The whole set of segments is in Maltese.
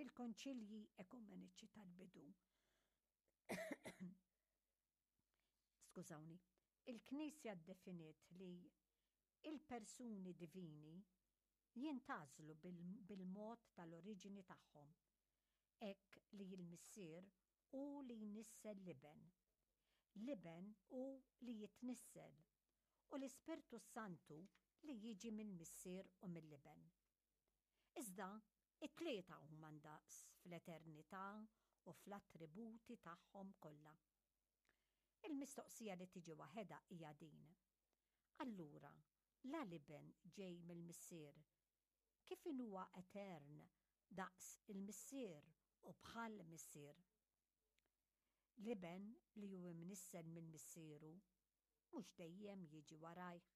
Fil-konċilji ekumeniċi tal-bidu, skużawni, il-Knisja ddefiniet li il-persuni divini jintgħażlu bil-mod tal-oriġini tagħhom, hekk li l-Missier hu li jnissel l-Iben, l-Iben hu li jitnissel, u l-Ispirtu s-Santu li jiġi mill-Missier u mill-Iben. Iżda, it-tlieta huma ndaqs fl-eternità u fl-attributi tagħhom kollha. Il-mistoqsija li tiġi waħedha hija din, Allura, la l-Iben ġej mill-Missier, kif inhuwa etern daqs il-Missier u bħall-Missier? L-Iben li hu imnissel minn Missieru mhux dejjem jiġi warajh.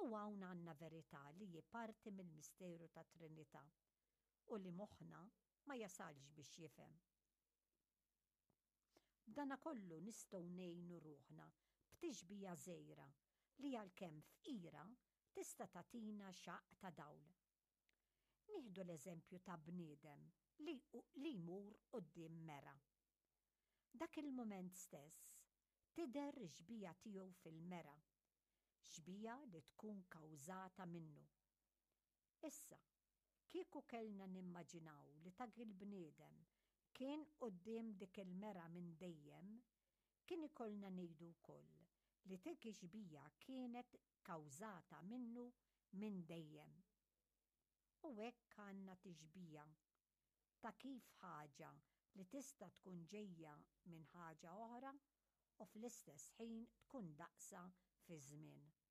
U hawn għandna verità li hi parti mill-misteru tat-Trinità u li moħħna ma jasalx biex jifhem. B'danakollu nistgħu ngħinu ruħna b'tixbija żgħira li għalkemm fqira tista' tagħtina xaqq ta' dawl. Nieħdu l-eżempju ta' bniedem li li jmur quddiem mera. Dak il-mument stess tidher ix-xbieha tiegħu fil-mera, xbieha li tkun kawżata minnu. Issa, kieku kellna nimmaġinaw li dak il-bniedem kien quddiem dik il-mera minn dejjem, kien ikollna ngħidu wkoll li dik ix-xbieha kienet kawżata minnu minn dejjem. U hekk għandna tixbieha ta' kif ħaġa li tista' tkun ġejja minn ħaġa oħra u fl-istess ħin tkun daqsha fiż-żmien.